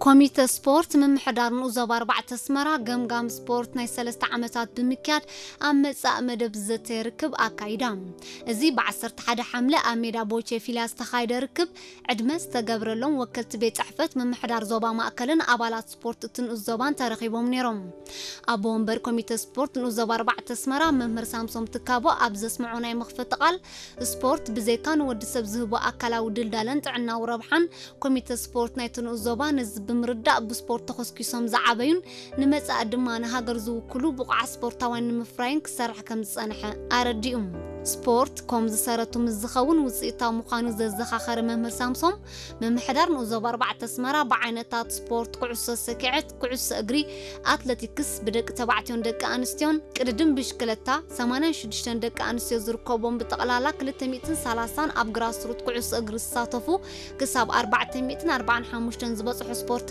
ኮሚተ ስፖርት ምምሕዳር ንኡስ ዞባ ኣርባዕተ ኣስመራ ገምጋም ስፖርት ናይ ሰለስተ ዓመታት ብምክያድ ኣብ መጻእ መደብ ዝዘተየ ርክብ ኣካይዳ። እዚ ብ ዓሰርተ ሓደ ሓምለ ኣብ ሜዳ ቦቼ ፊልያ ዝተኻየደ ርክብ ዕድመ ዝተገብረሎም ወከልቲ ቤት ጽሕፈት ምምሕዳር ዞባ ማእከልን ኣባላት ስፖርት እቲ ንኡስ ዞባን ተረኺቦም ነይሮም። ኣቦ ወንበር ኮሚተ ስፖርት ንኡስ ዞባ ኣርባዕተ ኣስመራ መምህር ሳምሶም ትካቦ ኣብ ዘስምዖ ናይ መኽፈቲ ቃል፣ ስፖርት ብዘይካ ንወዲ ሰብ ዝህቦ ኣካላዊ ድልዳለን ጥዕናዊ ረብሓን፣ ኮሚተ ስፖርት ናይቲ ንኡስ ዞባ ነዚ ብምርዳእ ብስፖርት ተኾስኪሶም ዝዓበዩን ንመጻኢ ድማ ንሃገር ዝውክሉ ብቑዓት ስፖርታውያን ንምፍራይን ክሰርሕ ከም ዝጸንሐ ኣረዲኡ። ስፖርት ኮም ዝሰረቱ ምስ ዝኸውን ውጽኢታዊ ምዃኑ ዘዘኻኸረ መምህር ሳምሶም፣ ምምሕዳር ንኡስ ዞባ ኣርባዕተ ኣስመራ ብዓይነታት ስፖርት ኩዕሶ ሰኪዐት፣ ኩዕሶ እግሪ፣ ኣትለቲክስ ብደቂ ተባዕትዮን ደቂ ኣንስትዮን፣ ቅድድም ብሽክለታ፣ ሰማንያን ሽዱሽተን ደቂ ኣንስትዮ ዝርከቦም ብጠቕላላ ክልተ ሚእትን ሰላሳን ኣብ ግራስሩት ኩዕሶ እግሪ ዝሳተፉ ክሳብ ኣርባዕተ ሚእትን ኣርባዓን ሓሙሽተን ዝበጽሑ ስፖርተኛ